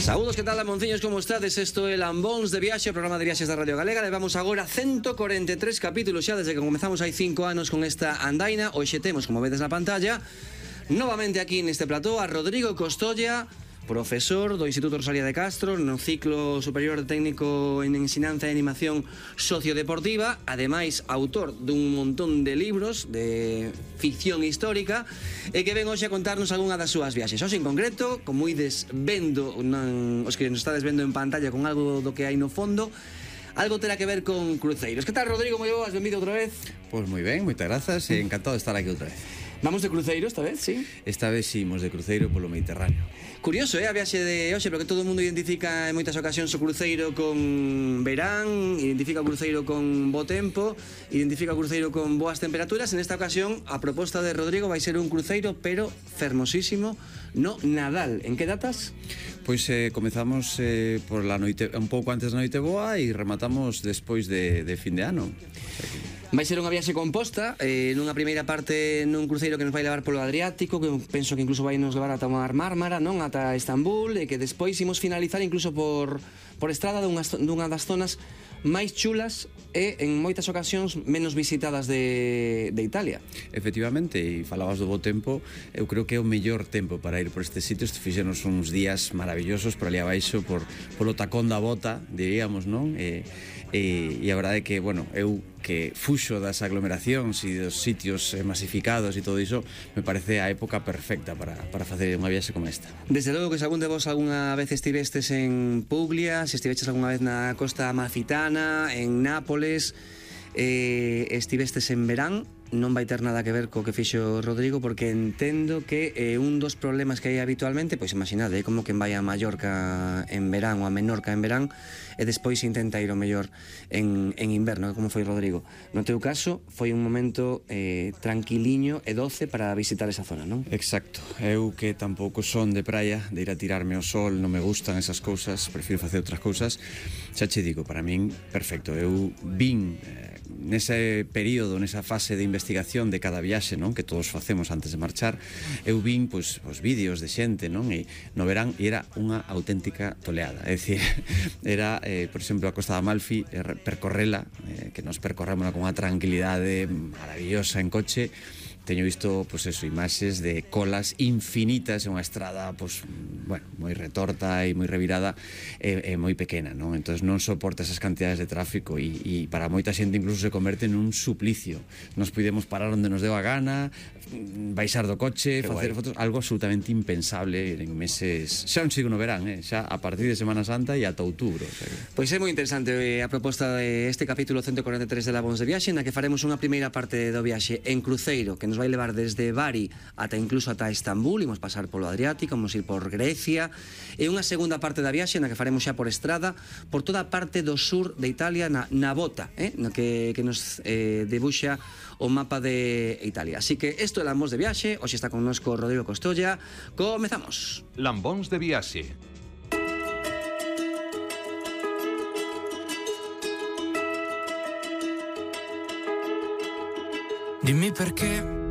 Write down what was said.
Saúdos, que tal, Lamonciños, como estades? Isto é Lambóns de Viaxe, o programa de viaxes da Radio Galega. Levamos agora 143 capítulos xa desde que comezamos hai 5 anos con esta andaina. Hoxe temos, como vedes na pantalla, novamente aquí neste plató a Rodrigo Costolla, profesor do Instituto Rosalía de Castro no ciclo superior de técnico en ensinanza e animación sociodeportiva, ademais autor dun montón de libros de ficción histórica e que ven hoxe a contarnos algunha das súas viaxes. Hoxe en concreto, como ides vendo os que nos estades vendo en pantalla con algo do que hai no fondo, algo terá que ver con cruceiros. Que tal, Rodrigo? Moi boas, benvido outra vez. Pois moi ben, moitas grazas e encantado de estar aquí outra vez. Vamos de cruceiro esta vez, sí? Esta vez sí, imos de cruceiro polo Mediterráneo. Curioso, a viaxe de hoxe, porque todo o mundo identifica en moitas ocasións o cruceiro con verán, identifica o cruceiro con bo tempo, identifica o cruceiro con boas temperaturas. En esta ocasión, a proposta de Rodrigo vai ser un cruceiro, pero fermosísimo, no Nadal. En que datas? Pois comezamos por la noite, un pouco antes da noite boa e rematamos despois de fin de ano. Vai ser unha viaxe composta, nunha primeira parte nun cruceiro que nos vai levar polo Adriático, que penso que incluso vai nos levar ata Mar Mármara, non? Ata Estambul, e que despois imos finalizar incluso por estrada dunha das zonas máis chulas e en moitas ocasións menos visitadas de Italia. Efectivamente, e falabas do bo tempo, eu creo que é o mellor tempo para ir por estes sitios. Fixenos uns días maravillosos por ali abaixo, polo tacón da bota, diríamos, non? E a verdade é que, bueno, eu que fuxo das aglomeracións e dos sitios masificados e todo iso, me parece a época perfecta para facer unha viaxe como esta. Desde logo que se algún de vos algunha vez estivestes en Puglia, se estiveches algunha vez na costa amalfitana, en Nápoles, estivestes en verán, non vai ter nada que ver co que fixo Rodrigo, porque entendo que un dos problemas que hai habitualmente, pois imaginade, como quen vai a Mallorca en verán ou a Menorca en verán e despois intenta ir o mellor en inverno, como foi Rodrigo. No teu caso, foi un momento tranquiliño e doce para visitar esa zona, non? Exacto. Eu que tampouco son de praia, de ir a tirarme ao sol, non me gustan esas cousas, prefiro facer outras cousas. Xa che digo, para min, perfecto. Eu vin nese período, nesa fase de investigación de cada viaxe, non, que todos facemos antes de marchar, eu vin pois os vídeos de xente, non, e no verán era unha auténtica toleada. É dicir, era, por exemplo, a Costa de Amalfi, percorrela, que nos percorremos con unha tranquilidade maravillosa en coche. Teño visto, pois eso, imaxes de colas infinitas en unha estrada, pois, bueno, moi retorta e moi revirada e moi pequena, non? Entón non soporta esas cantidades de tráfico e para moita xente incluso se converte nun suplicio. Nos podemos parar onde nos deu a gana, baixar do coche, facer fotos, algo absolutamente impensable en meses, xa non sigo no verán, xa a partir de Semana Santa e ata outubro. O sea que... Pois é moi interesante a proposta de este capítulo 143 de Lambóns de Viaxe, na que faremos unha primeira parte do viaxe en cruceiro, que nos vai levar desde Bari ata incluso ata Estambul, imos pasar polo Adriático, imos ir por Grecia, e unha segunda parte da viaxe na que faremos xa por estrada por toda a parte do sur de Italia, na bota, no que nos debuxa o mapa de Italia. Así que isto é Lambóns de Viaxe. Hoxe está connosco Rodrigo Costolla. Comezamos. Lambóns de Viaxe. Dimmi perché